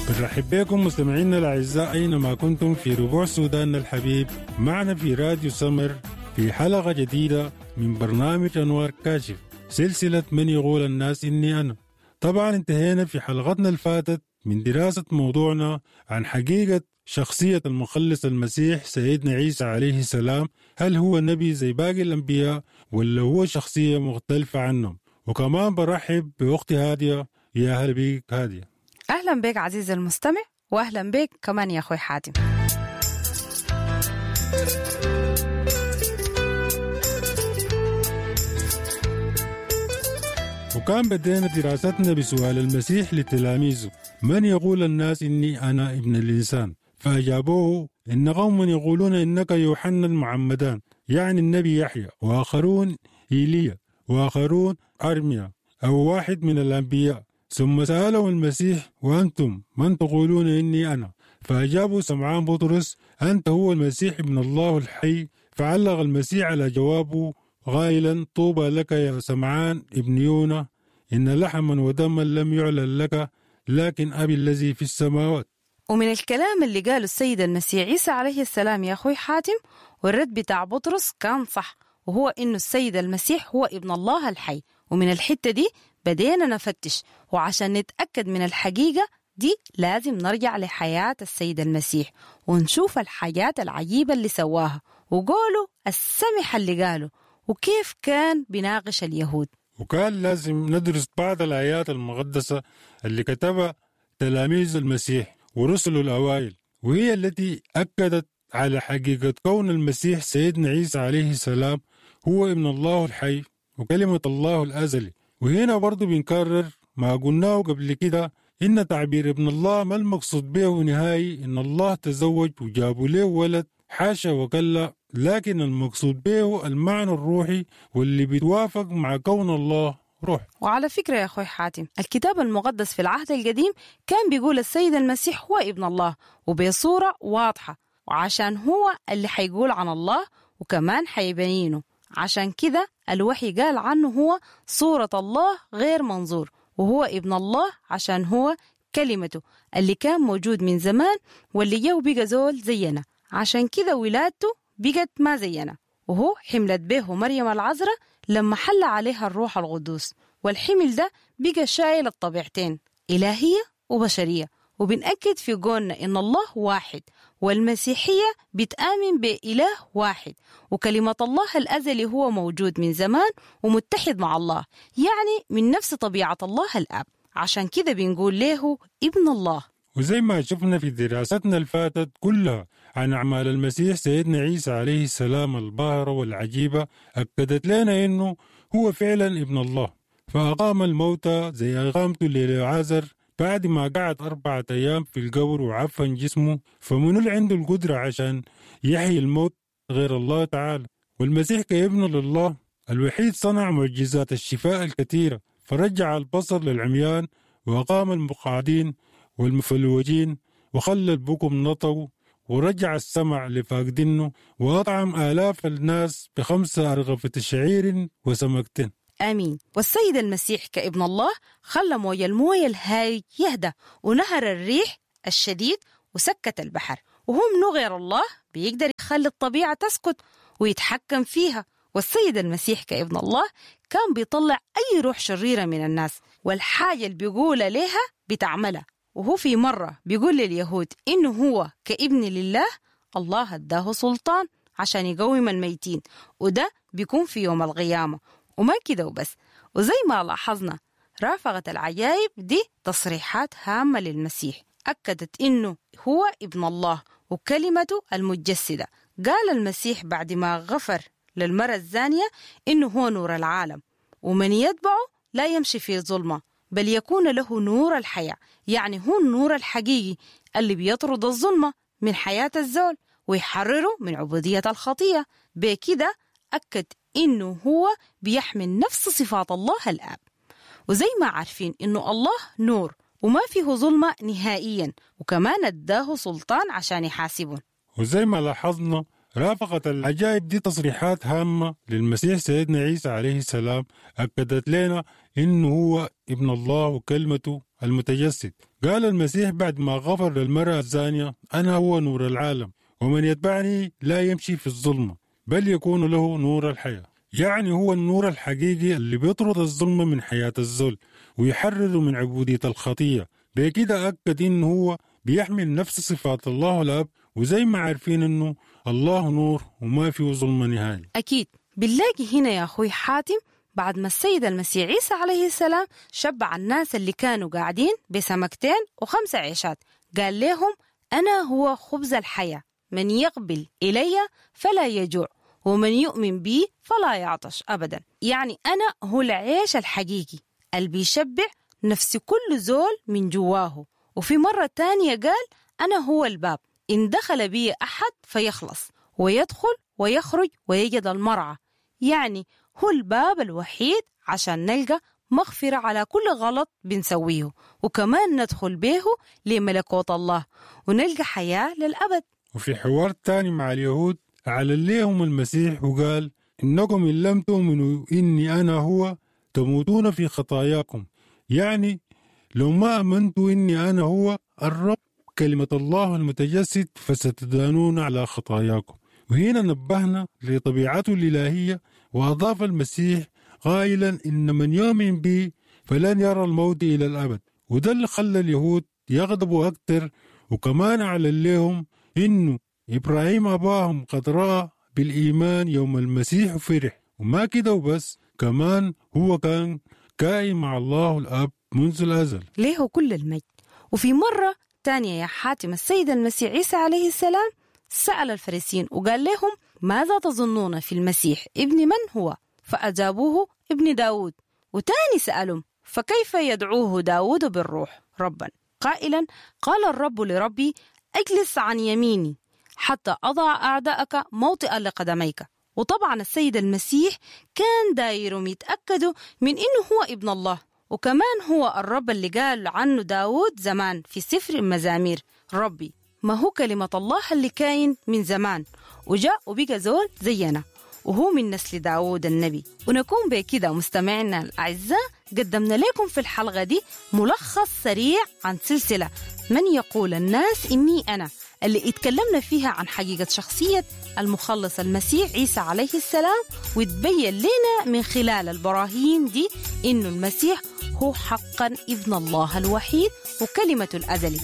بنرحب بكم مستمعينا الأعزاء أينما كنتم في ربوع سوداننا الحبيب، معنا في راديو سمر في حلقة جديدة من برنامج أنوار كاشف، سلسلة من يقول الناس إني أنا. طبعا انتهينا في حلقتنا الفاتت من دراسة موضوعنا عن حقيقة شخصية المخلص المسيح سيدنا عيسى عليه السلام، هل هو نبي زي باقي الأنبياء ولا هو شخصية مختلفة عنهم؟ وكمان برحب بأختي هادية. يا هلا بيك هادية. أهلا بك عزيزي المستمع، وأهلا بك كمان يا أخوي حاتم. وكان بدينا دراستنا بسؤال المسيح لتلاميذه: من يقول الناس إني أنا ابن الإنسان؟ فأجابوه إن قوم يقولون إنك يوحنا المعمدان، يعني النبي يحيى، وآخرون إيليا، وآخرون أرميا أو واحد من الأنبياء. ثم سألهم المسيح: وأنتم من تقولون إني أنا؟ فأجابوا سمعان بطرس: أنت هو المسيح ابن الله الحي. فعلق المسيح على جوابه قائلا: طوبى لك يا سمعان ابن يونا، إن لحما ودما لم يعلن لك، لكن أبي الذي في السماوات. ومن الكلام اللي قاله السيد المسيح عيسى عليه السلام يا أخوي حاتم، والرد بتاع بطرس كان صح، وهو إنه السيد المسيح هو ابن الله الحي. ومن الحتة دي بدينا نفتش، وعشان نتأكد من الحقيقة دي لازم نرجع لحياة السيد المسيح ونشوف الحاجات العجيبة اللي سواها وقوله السمح اللي قاله وكيف كان بيناقش اليهود. وكان لازم ندرس بعض الآيات المقدسة اللي كتبها تلاميذ المسيح ورسله الأوائل، وهي التي أكدت على حقيقة كون المسيح سيدنا عيسى عليه السلام هو ابن الله الحي وكلمة الله الأزلي. وهنا برضو بنكرر ما قلناه قبل كده، إن تعبير ابن الله ما المقصود به نهائي إن الله تزوج وجابوا له ولد، حاشا وكلا، لكن المقصود به المعنى الروحي واللي بيتوافق مع كون الله روح. وعلى فكرة يا أخوي حاتم، الكتاب المقدس في العهد القديم كان بيقول السيد المسيح هو ابن الله وبصورة واضحة، وعشان هو اللي حيقول عن الله وكمان حيبينه، عشان كده الوحي قال عنه هو صورة الله غير منظور، وهو ابن الله عشان هو كلمته اللي كان موجود من زمان واللي جه وبقى زول زينا، عشان كده ولادته بقت ما زينا، وهو حملت به مريم العذراء لما حل عليها الروح القدوس، والحمل ده بقى شايل الطبيعتين إلهية وبشرية. وبنأكد في قولنا إن الله واحد، والمسيحية بتآمن بإله واحد، وكلمة الله الأزلي هو موجود من زمان ومتحد مع الله، يعني من نفس طبيعة الله الآب، عشان كده بنقول له ابن الله. وزي ما شفنا في دراستنا الفاتت كلها عن أعمال المسيح سيدنا عيسى عليه السلام الباهرة والعجيبة، أكدت لنا إنه هو فعلا ابن الله، فأقام الموتى زي أقامته للعازر بعد ما قعد 4 أيام في القبر وعفن جسمه. فمن اللي عنده القدرة عشان يحيي الموت غير الله تعالى؟ والمسيح كابن لله الوحيد صنع معجزات الشفاء الكثيرة، فرجع البصر للعميان وأقام المقعدين والمفلوجين وخلى البكم نطوا ورجع السمع لفاقدينه وأطعم آلاف الناس ب5 أرغفة شعير وسمكتين. آمين. والسيد المسيح كابن الله خلى موج الموية الهايج يهدى ونهر الريح الشديد وسكت البحر، وهو منو غير الله بيقدر يخلي الطبيعة تسكت ويتحكم فيها. والسيد المسيح كابن الله كان بيطلع أي روح شريرة من الناس، والحاجة اللي بيقولها لها بتعملها. وهو في مرة بيقول لليهود إنه هو كابن لله الله اداه سلطان عشان يقوم الميتين، وده بيكون في يوم القيامة. وما كده وبس، وزي ما لاحظنا رافقت العجائب دي تصريحات هامة للمسيح أكدت إنه هو ابن الله وكلمته المتجسدة. قال المسيح بعد ما غفر للمرأة الزانية إنه هو نور العالم، ومن يتبعه لا يمشي في ظلمة بل يكون له نور الحياة، يعني هو النور الحقيقي اللي بيطرد الظلمة من حياة الزول ويحرره من عبودية الخطية. بكده أكد إنه هو بيحمل نفس صفات الله الآب. وزي ما عارفين إنه الله نور وما فيه ظلمة نهائيا، وكمان اداه سلطان عشان يحاسبه. وزي ما لاحظنا رافقت العجائب دي تصريحات هامة للمسيح سيدنا عيسى عليه السلام، أكدت لنا إنه هو ابن الله وكلمته المتجسد. قال المسيح بعد ما غفر للمرأة الزانية: أنا هو نور العالم، ومن يتبعني لا يمشي في الظلمة بل يكون له نور الحياة. يعني هو النور الحقيقي اللي بيطرد الظلمة من حياة الزول ويحرره من عبودية الخطية. بكده أكد إنه هو بيحمل نفس صفات الله الأب، وزي ما عارفين إنه الله نور وما فيه ظلمة نهائي. أكيد بنلاقي هنا يا أخوي حاتم بعد ما السيد المسيح عيسى عليه السلام شبع الناس اللي كانوا قاعدين بسمكتين و5 عيشات، قال لهم: أنا هو خبز الحياة، من يقبل إلي فلا يجوع، ومن يؤمن بي فلا يعطش أبدا. يعني أنا هو العيش الحقيقي اللي بيشبع نفس كل زول من جواه. وفي مرة تانية قال: أنا هو الباب، إن دخل بي أحد فيخلص، ويدخل ويخرج ويجد المرعى. يعني هو الباب الوحيد عشان نلقى مغفرة على كل غلط بنسويه، وكمان ندخل به لملكوت الله ونلقى حياة للأبد. وفي حوار تاني مع اليهود أعلن لهم المسيح وقال: إنكم إن لم تؤمنوا إني أنا هو تموتون في خطاياكم. يعني لو ما آمنتوا إني أنا هو الرب كلمة الله المتجسد فستدانون على خطاياكم. وهنا نبهنا لطبيعته الإلهية، وأضاف المسيح قائلا: إن من يؤمن بي فلن يرى الموت إلى الأبد. وده اللي خلى اليهود يغضبوا أكثر، وكمان أعلن لهم إنه إبراهيم أباهم قد رأى بالإيمان يوم المسيح فرح. وما كده وبس، كمان هو كان كائن مع الله الأب منذ الأزل، ليه كل المجد. وفي مرة تانية يا حاتم السيد المسيح عيسى عليه السلام سأل الفريسيين وقال لهم: ماذا تظنون في المسيح، ابن من هو؟ فأجابوه: ابن داود. وتاني سألهم: فكيف يدعوه داود بالروح ربا؟ قائلا: قال الرب لربي أجلس عن يميني حتى أضع أعداءك موطئا لقدميك. وطبعا السيد المسيح كان دايرهم يتأكدوا من إنه هو ابن الله، وكمان هو الرب اللي قال عنه داود زمان في سفر المزامير: ربي. ما هو كلمة الله اللي كاين من زمان وجاء وبقى زول زينا، وهو من نسل داود النبي. ونكون بكده مستمعينا الأعزاء قدمنا لكم في الحلقة دي ملخص سريع عن سلسلة من يقول الناس إني أنا، اللي اتكلمنا فيها عن حقيقة شخصية المخلص المسيح عيسى عليه السلام، وتبين لنا من خلال البراهين دي إنه المسيح هو حقا ابن الله الوحيد وكلمة الأزلي.